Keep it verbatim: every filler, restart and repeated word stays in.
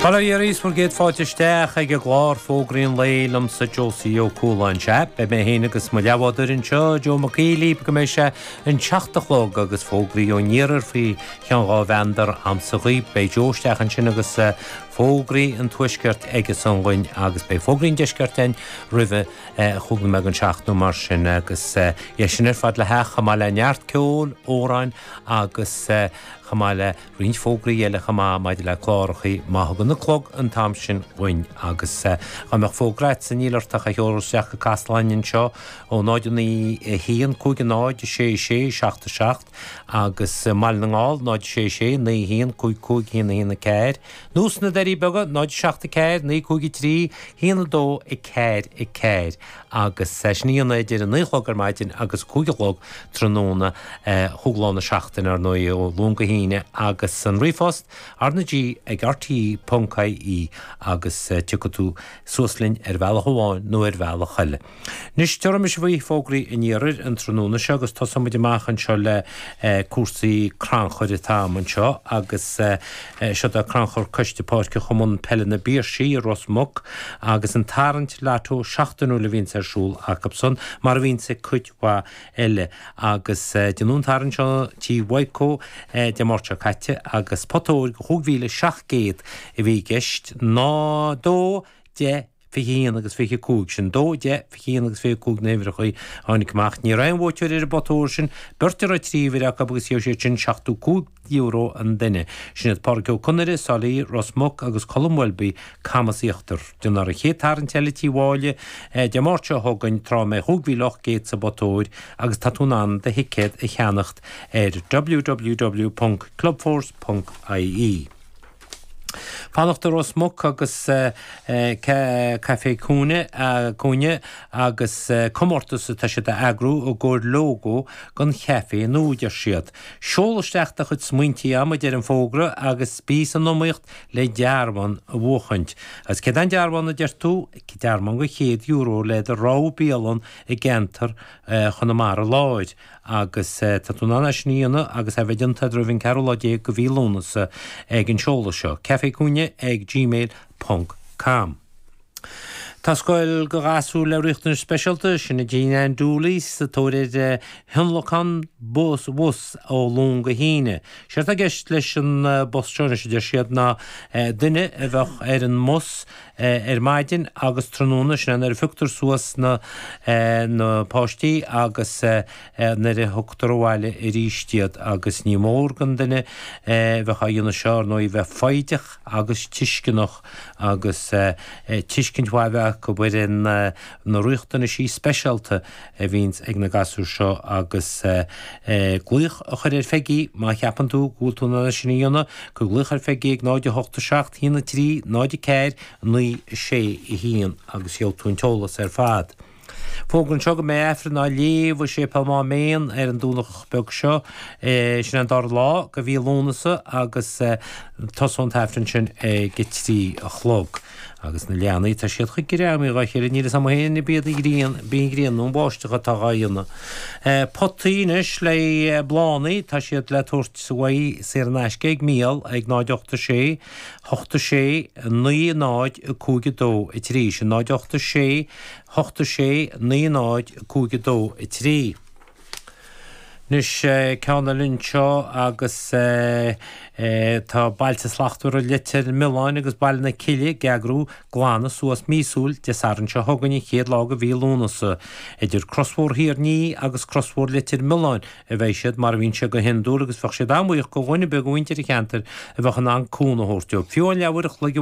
Bail ó Dhia oraibh is bhur gcéad fáilte isteach ag an gclár Fógraí an Lae liomsa Josie Ó Cualáin. Sea, beidh mé féin agus mo leathbhádóir anseo, Joe Mac Aoidh, libh go mbeidh sé an seacht a chlog agus fógraí ón iarthar faoi cheann dhá mheandar a'msa dhaoibh. Beidh Joe isteach ansin agus fógraí an tuaiscirt aige san dhuinn agus beidh fógraí an deiscirt againn roimhe chúig nóiméad don seacht nó mar sin agus é sin ar fad le theacht chomh maith le neart ceoil, amhráin agus chomh maith le roinnt fógraí eile chomh maith maidir le clárachaí má thugann an clog an t-am sin dhuinn agus dá mbeadh fógra agatsa níl ort ach a sheoladh isteach go Caisleán anseo ó náid naoi a haon cúig a náid a sé sé seacht a seacht agus i mBaile na nGall náid sé sé naoi haon cúig cúig haon a haon a ceathair nó sna Doirí Beaga náid seacht a ceathair naoi cúig a trí haon a dó a ceathair a ceathair agus sin a dhéanamh idir a naoi a chlog ar maidin agus cúig a chlog tráthnóna chúig lá na seachtaine ar ndóigh ó Luan go hAoine agus an ríomhphost R na G ag R T ponc I E agus tiocfaidh tú suas linn ar bhealach amháin nó ar bhealach eile. Anois tabharfaidh mise faoi fógraí an iarthair an tráthnóna seo agus tosóidh muid amach anseo le cúrsaí crannchuir atá agam anseo agus seo é crannchur Coiste Páirce Chumann Peile na bPiarsaigh i Ros Muc agus an tarraingt lotto seachtainiúil a bhíonns ar siúl acu san mar a bhíonns ag cuid mhaith eile agus déanadh an tarraingt seo tí Mhaidhcó Dé Máirt seo caite agus pota óir de chúig mhíle seacht gcéad a bhí i gceist ná dó deich fiche haon agus fiche cúig sin dó deich fiche haon agus fiche cúig na huimhreacha a tháinig amach. Ní raibh aon bhuaiteoir ar an bpota óir sin, beirt a raibh trí uimhir acu agus gheobhaidh siad sin seachtó cúig euro an duine. Sin iad Pádraig Ó Conaire, Sailí, Ros Muc agus Colm Welby, Camas Íochtar. Déanfar an chéad tarraingt eile tí Mháille Dé Máirt seo chugainn tráth a mbeidh chúig mhíle ocht gcéad sa bpota óir agus tá tú in ann do thicéad a cheannacht ar W W W ponc clubforce ponc I E. Fanacht i Ros Muc agus Caifé Cúinne Cúinne agus comórtas atá siad a eagrú i gcomhair lógó don chaifé nua deir siad. Seol isteach do chuid smaointí adhmaid ar an bhfógra agus bí san iomaíocht le dearbhán a bhuachaint. Agus céard é an dearbhán a deir tú, dearbhán de chéad euro le do rogha bialann i gceantar Chonamara Láir. Agus tá tú in ann é sin a dhéanamh agus é a bheith déanta roimh an ceathrú lá déag de mhí Lúnasa ag an seoladh seo, cafécúinne ag gmail ponc com. Tá scoil do ghasúir le riachtanais speisialta, sin í Jean Ann Dooley, sa tóir ar thionlacan bus bhus ó Luan go hAoine. Séard atá i gceist leis an bpost seo anois a deir siad ná duine a bheadh ar an mbus ar maidin agus tráthnóna, sin é nuair a phioctar suas na na páistí agus nuair a thugtar abhaile arís iad agus ní mór don duine a bheadh á dhéanamh seo ar ndóigh bheith foighdeach agus tuisceanach agus tuiscint mhaith a bheith acu ar an na riachtanaisí speisialta a bhíonns ag na gasúir seo agus glaoch a chur ar Pheigí má cheapann tú go bhfuil tú in ann é sin a dhéanamh, cuir glaoch ar Pheigí ag náid a hocht a seacht haon a trí náid a ceathair naoi a sé a haon agus gheobhaidh tú an t-eolas ar fad. Fógra anseo go mbeidh Aifreann á léamh i Séipéal Máméan ar an Domhnach beag seo, sin an dara lá de mhí Lúnasa agus tosóidh an t-Aifreann sin ag a trí a chlog. Agus na leanaí tá siad chomh greamaithe dhá chéile níl fhios a'm féin ab iad an ghrian b'í an ghrian nó an bháisteach atá dhá dhéanamh. Potaí anois le bláthanna tá siad le tabhairt uaidh saor in aisce ag Mícheál ag náid ocht a sé, hocht a sé, naoi náid cúig a dó a trí, sin náid ocht a sé, hocht a sé, naoi náid cúig a dó a trí. Anois ceann eile anseo agus tá Bailte Slachtmhara Leitir Mealláin agus Baile na Cille ag eagrú glanadh suas míosúil Dé Sathairn seo chugainn an chéad lá de mhí Lúnasa. Idir Crosbhóthar Thír an Fhia agus Crosbhóthar Leitir Mealláin a bheidh siad mar a bhíonn sé go hiondúil agus bheadh siad an-bhuíoch do dhuine ar bith de mhuintir an cheantair a bheadh in ann cúnamh a thabhairt dóibh. Fiú amháin leathuair a chloig